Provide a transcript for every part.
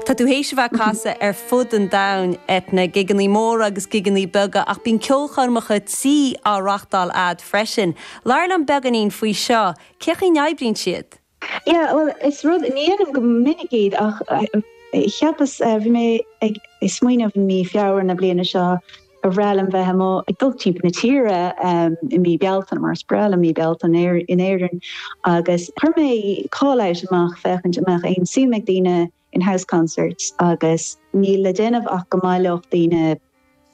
Tá tú théis a bheith ag casadh ar fud an domhain, Eithne, gigeannaí móra agus gigeannaí beaga, ach bíonn ceolchoirmeacha tí á reachtáil a'd freisin. Labhair liom beagáinín faoi seo, cén chaoi a n-oibríonn siad? Yeah, bhuel, is rud, ní dhéanaim go minic iad ach cheapas, bhí mé ag smaoineamh i mí Feabhra na bliana seo gur bhreá liom bheith amuigh ag dul timpeall na tíre i mí Bealtaine mar is breá liom mí Bealtaine in Éirinn agus chuir mé call out amach féachaint an mbeadh aon suim ag daoine in house concerts agus níl le déanamh ach go mbaileodh daoine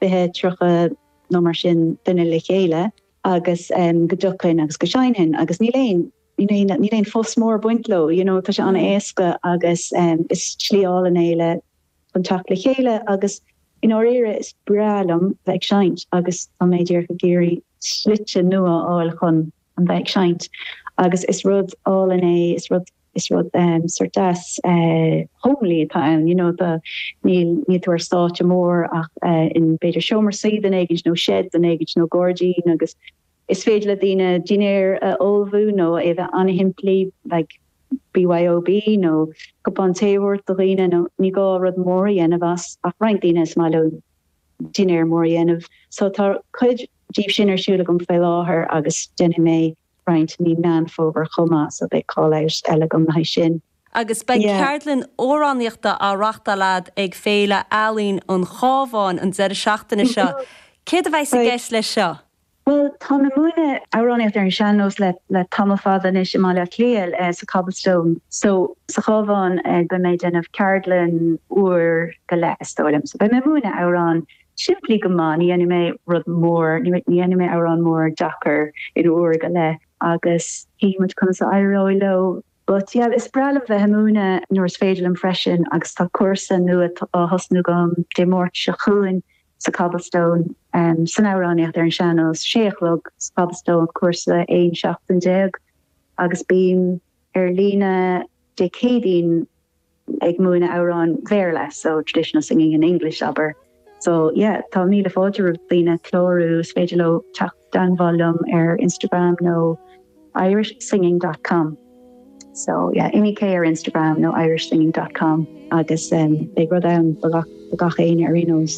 20, 30 nó mar sin duine le chéile agus go dtiocfainn agus go seinnfinn agus níl aon níl aon fuss mór ag baint leo, you know, tá sé an-éasca agus is slí álainn é le chun teacht le chéile agus i ndáiríre is breá liom bheith ag seinnt agus tá mé díreach ag iarraidh slite nua a fháil chun an bheith ag seinnt agus is rud álainn é, is rud is rud sort deas homely atá ann, you know, tá níl níl tú ar stáitse mór ach in b'fhéidir seomra suí duine éigint nó shed duine éigint nó gairdín agus Is féidir le daoine dinnéar a ullmhú nó é a bheith an-shimplí, like BYOB nó cupán tae a thabhairt do dhaoine nó ní gá rud mór a dhéanamh as ach roinnt daoine is maith leo dinnéar mór a dhéanamh. So tá cuid díobh sin ar siúl agam faoi láthair agus déanfaidh mé roinnt i mí Meán Fómhair chomh maith so beidh call out eile agam le haghaidh sin. Agus beidh ceardlann amhránaíochta á reachtáil a'd ag Féile Ealaíon an Chabháin an deireadh seachtaine seo. Céard a bheas i gceist leis seo? Bhuel, táim ag múineadh amhránaíocht ar an sean-nós le le tamall fada anois i mBaile Átha Cliath sa Cobblestone. So, sa Chabhán beidh mé ag déanamh ceardlann uair go leith is dóigh liom. So beidh mé ag múineadh amhrán simplí go maith, ní dhéanfaidh mé rud mór, ní dhéanfaidh mé amhrán mór deacair in uair go leith agus chífidh muid conas a éireoidh leo. But yeah, is breá liom bheith ag múineadh nuair is féidir liom freisin agus tá cúrsa nua á thosnú agam Dé Máirt seo chugainn sa Cobblestone san amhránaíocht ar an sean-nós, sé a chlog sa Cobblestone, cúrsa 11 seachtain agus bím ar líne Dé Céadaoin ag múineadh amhráin Bhéarla, so traditional singing in English, abair. So yeah, tá míle fáilte roimh daoine clárú, is féidir leo teacht i dteangmháil liom ar Instagram nó irishsinging dot com. So yeah, Immy K ar Instagram nó irishsinging dot com agus beidh rud ann do gach éinne ar aon nós.